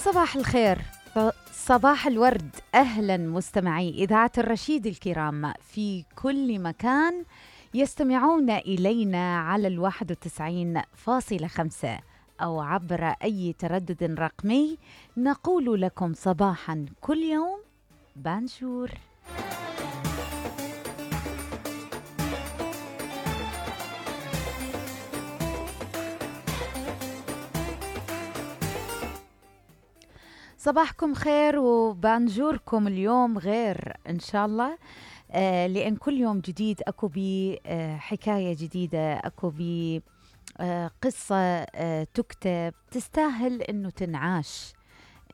صباح الخير، صباح الورد. أهلا مستمعي إذاعة الرشيد الكرام في كل مكان يستمعون إلينا على 91.5 أو عبر أي تردد رقمي. نقول لكم صباحا كل يوم بانجور. صباحكم خير وبانجوركم اليوم غير إن شاء الله، لأن كل يوم جديد أكو بي حكاية جديدة، أكو بي قصة تكتب تستاهل إنه تنعاش.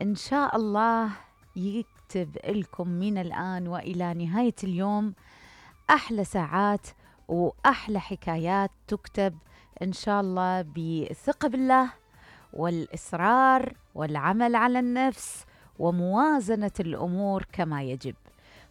إن شاء الله يكتب لكم من الآن وإلى نهاية اليوم أحلى ساعات وأحلى حكايات تكتب إن شاء الله، بثقة بالله والإصرار والعمل على النفس وموازنة الأمور كما يجب.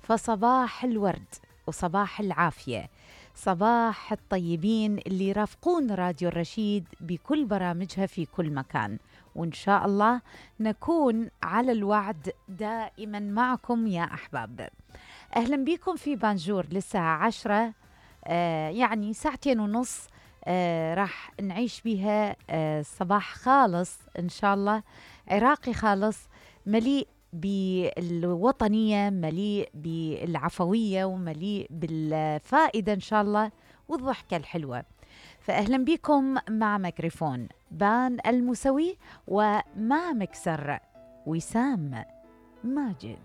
فصباح الورد وصباح العافية، صباح الطيبين اللي يرافقون راديو الرشيد بكل برامجها في كل مكان، وإن شاء الله نكون على الوعد دائما معكم يا أحباب. أهلا بكم في بانجور للساعة 10، يعني ساعتين ونص راح نعيش بها صباح خالص إن شاء الله، عراقي خالص، مليء بالوطنية، مليء بالعفوية، ومليء بالفائدة إن شاء الله والضحكة الحلوة. فأهلا بكم مع ميكروفون بان المسوي، ومع مكسر وسام ماجد.